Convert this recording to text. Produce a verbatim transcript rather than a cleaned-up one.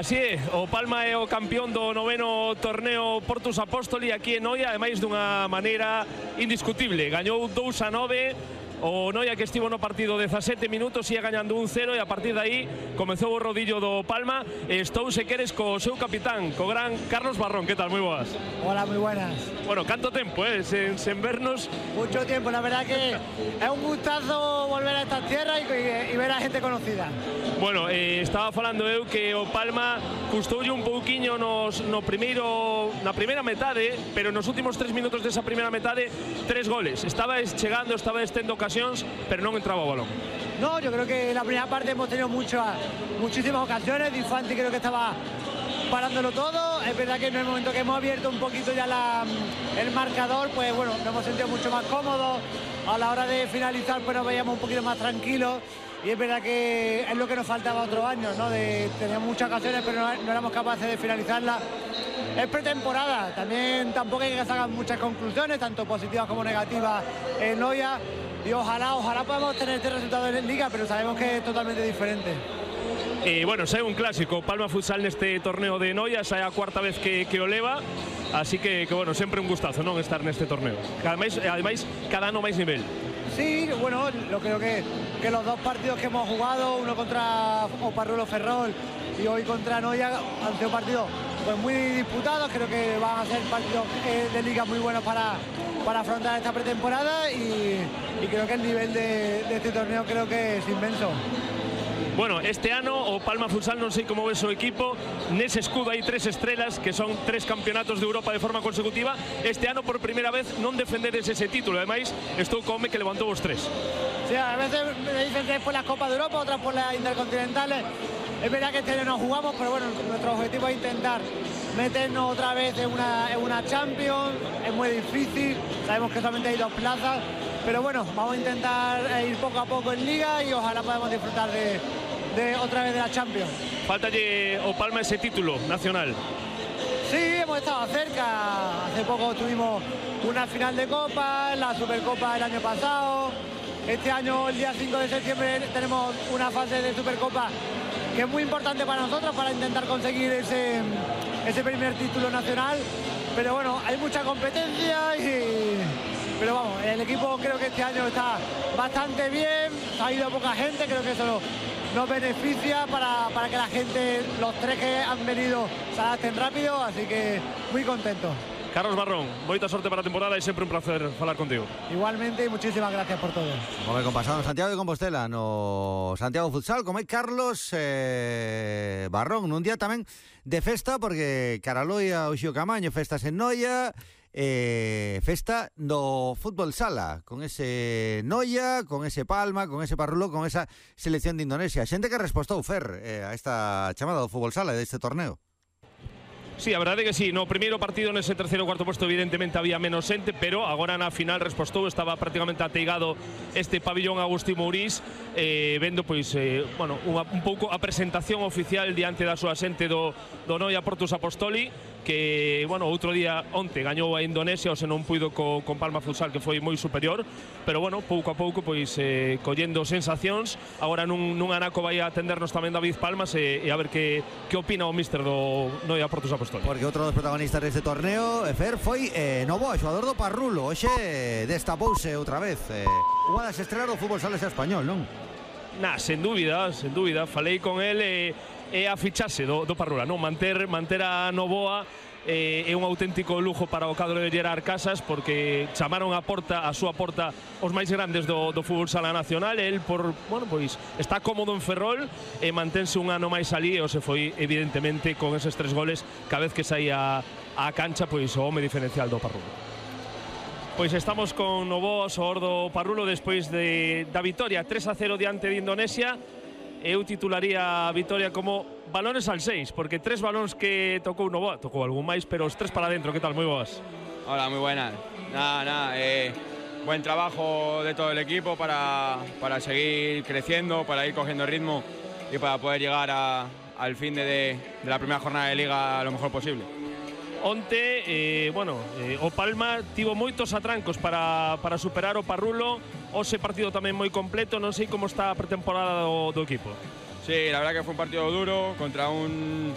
Así é, o Palma é o campeón do noveno torneo Portus Apóstoli aquí en Noia, ademais dunha maneira indiscutible. Gañou dous a nove, o Noia que estivo no partido dezasete minutos ia gañando un cero e a partir de aí comezou o rodillo do Palma. Estou, se queres, co seu capitán, co gran Carlos Barrón. Que tal? Moi boas. Hola, moi buenas. Bueno, canto tempo, eh, sen, sen vernos. Mucho tiempo, la verdad que é un gustazo volver a esta tierra e, e ver a gente conocida. Bueno, eh, estaba falando eu que o Palma custoulle un pouquiño nos, no primeiro, na primeira metade, pero nos últimos tres minutos desa primeira metade, tres goles. Estabais chegando, estabais tendo ocasións, pero non entraba o balón. No, yo creo que en la primera parte hemos tenido muchas, muchísimas ocasiones. Di Fanti creo que estaba parándolo todo. Es verdad que en el momento que hemos abierto un poquito ya la, el marcador, pues bueno, nos hemos sentido mucho más cómodos. A la hora de finalizar, pues nos veíamos un poquito más tranquilos. Y es verdad que es lo que nos faltaba otros años, ¿no? De tener muchas ocasiones, pero no, no éramos capaces de finalizarlas. Es pretemporada, también tampoco hay que sacar muchas conclusiones, tanto positivas como negativas en Noia. Y ojalá, ojalá podamos tener este resultado en Liga, pero sabemos que es totalmente diferente. E, bueno, sai un clásico, Palma Futsal neste torneo de Noia, sai a cuarta vez que, que o leva, así que, que, bueno, sempre un gustazo, non, estar neste torneo. Ademais, ademais cada ano máis nivel. Sí, bueno, lo creo que, que los dos partidos que hemos jugado, uno contra Oparrulo Ferrol y hoy contra Noia, han sido partidos pues muy disputados. Creo que van a ser partidos eh, de liga muy buenos para, para afrontar esta pretemporada y, y creo que el nivel de, de este torneo creo que es inmenso. Bueno, este ano o Palma Futsal non sei como ves o equipo, nese escudo hai tres estrelas que son tres campeonatos de Europa de forma consecutiva. Este ano por primeira vez non defendedes ese título, ademais estou co home que levantou os tres. Sí, a veces me dicen que es por las Copas de Europa, otras por las Intercontinentales. Es verdad que este año no jugamos, pero bueno, nuestro objetivo es intentar meternos otra vez en una, en una Champions. Es muy difícil, sabemos que solamente hay dos plazas, pero bueno, vamos a intentar ir poco a poco en Liga y ojalá podamos disfrutar de de otra vez de la Champions. Faltalle o Palma ese título nacional. Sí, hemos estado cerca. Hace poco tuvimos una final de Copa, la Supercopa el año pasado. Este año, el día cinco de septiembre, tenemos una fase de Supercopa que es muy importante para nosotros, para intentar conseguir ese, ese primer título nacional. Pero bueno, hay mucha competencia y... Pero vamos, el equipo creo que este año está bastante bien, ha ido poca gente, creo que eso nos beneficia para, para que la gente, los tres que han venido, se adapten rápido, así que muy contento. Carlos Barrón, moita sorte para a temporada e sempre un placer falar contigo. Igualmente, e muchísimas gracias por todo. Como he compasado en Santiago de Compostela, no Santiago Futsal, como é Carlos eh, Barrón, nun día tamén de festa, porque Caraloia, o Xio Camaño, festas en Noia, eh, festa do fútbol sala, con ese Noia, con ese Palma, con ese Parrulo, con esa selección de Indonesia. Xente que respostou, Fer, eh, a esta chamada do fútbol sala deste torneo. Sí, a verdade que sí, no primeiro partido nese terceiro cuarto posto evidentemente había menos xente, pero agora na final respostou, estaba prácticamente ateigado este pabillón Agustín Mourís, eh, vendo pois, eh, bueno, unha, un pouco a presentación oficial diante da súa xente do, do Noia Portus Apóstoli, que, bueno, outro día onte gañou a Indonesia, ou se non puido co, con Palma Futsal, que foi moi superior, pero bueno, pouco a pouco pois eh, collendo sensacións. Agora nun, nun anaco vai a atendernos tamén David Palmas e, e a ver que, que opina o míster do Noia Portus Apóstoli. Porque outro dos protagonistas deste torneo, Fer, foi eh, Novoa, xogador do Parrulo. Hoxe destapouse outra vez eh, unha das estrelas do fútbol sala español, non? Nah, sen dúbida, sen dúbida. Falei con el e, e a fichase do, do Parrula, non? Manter, manter a Novoa eh, é un auténtico lujo para o cadro de Gerard Casas, porque chamaron a porta, a súa porta, os máis grandes do, do fútbol sala nacional. El, por, bueno, pois, está cómodo en Ferrol e mantense un ano máis ali, e se foi evidentemente con eses tres goles cada vez que saía a cancha, pois o home diferencial do Parrulo. Pois estamos con Novoa, xogador do Parrulo, despois de, da vitoria tres a cero diante de Indonesia. Eu titularía a vitoria como balones al seis, porque tres balóns que tocou Novoa, tocou algún máis, pero os tres para dentro. Que tal? Moi boas. Hola, muy buenas. Nada, nada, eh, buen trabajo de todo el equipo para, para seguir creciendo, para ir cogiendo ritmo y para poder llegar a, al fin de, de, de la primera jornada de Liga lo mejor posible. Onte, eh, bueno, eh, o Palma tivo moitos atrancos para, para superar o Parrulo. Ose partido tamén moi completo, non sei como está a pretemporada do, do equipo. Sí, la verdad que fue un partido duro contra un,